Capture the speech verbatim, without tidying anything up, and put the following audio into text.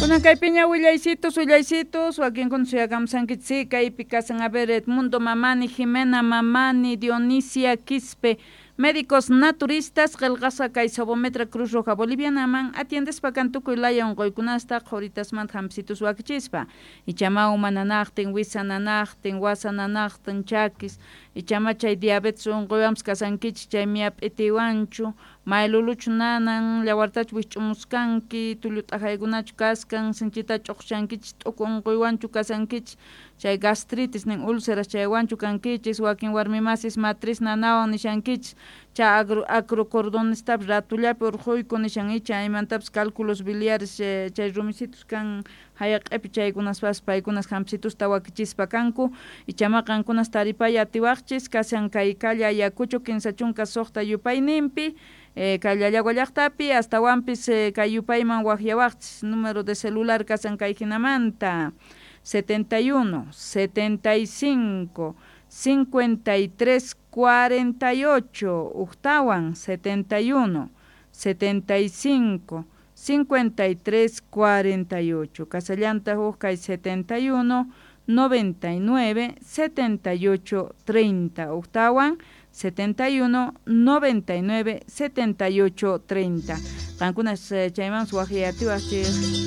Kunan kaypiña willaysitos, willaysitos, wakinkuna suyakamusankichik kaypi kasan, a ver, Edmundo Mamani, Jimena Mamani, Dionisia Quispe, médicos naturistas, qillqasqa kay Sobometra Cruz Roja Bolivianaman, atiendespa kan tukuy laya unquykunasta qhuritasmanta hampisitus wakichispa, ichama uma nanaqtin, wisa nanaqtin, wasa nanaqtin, chakis, ichama chay diabetes unquywanpas kasankichik, chay miyap'itiwanchu, mayluluchu nanan, llawartachu wikch'umuskanki, tullu t'ajaykunachu kaskan, sinchita ch'uqchankichik, t'uku unquywanchu kasankichik, chay gastritis nin úlceras chaywanchu kankichis, wakin warmimasis matriz nanawan nishankichis, chay agro acrocordonestapas ratullapi urquyku nishan icha imantapas cálculos biliares chay rumisitus kan hayaq'ipi chaykunaspas paykunas hampsitusta wakichispa kanku, ichama qankunas taripay atiwaqchis kashan kay calle Ayacucho kinsa chunka suqta yupayninpi eh, kay Llallagua llaqtapi astawanpis eh, kay yupayman waqyawaqchis número de celular kashan kay hinamanta setenta y uno, setenta y cinco, cincuenta y tres, cuarenta y ocho, uktawan setenta y uno, setenta y cinco, cincuenta y tres, cuarenta y ocho, kasallanta huk kay setenta y uno, noventa y nueve, setenta y ocho, treinta, uktawan setenta y uno, noventa y nueve, setenta y ocho, treinta. Qankunas chaymanpas waqyatiwaqchik.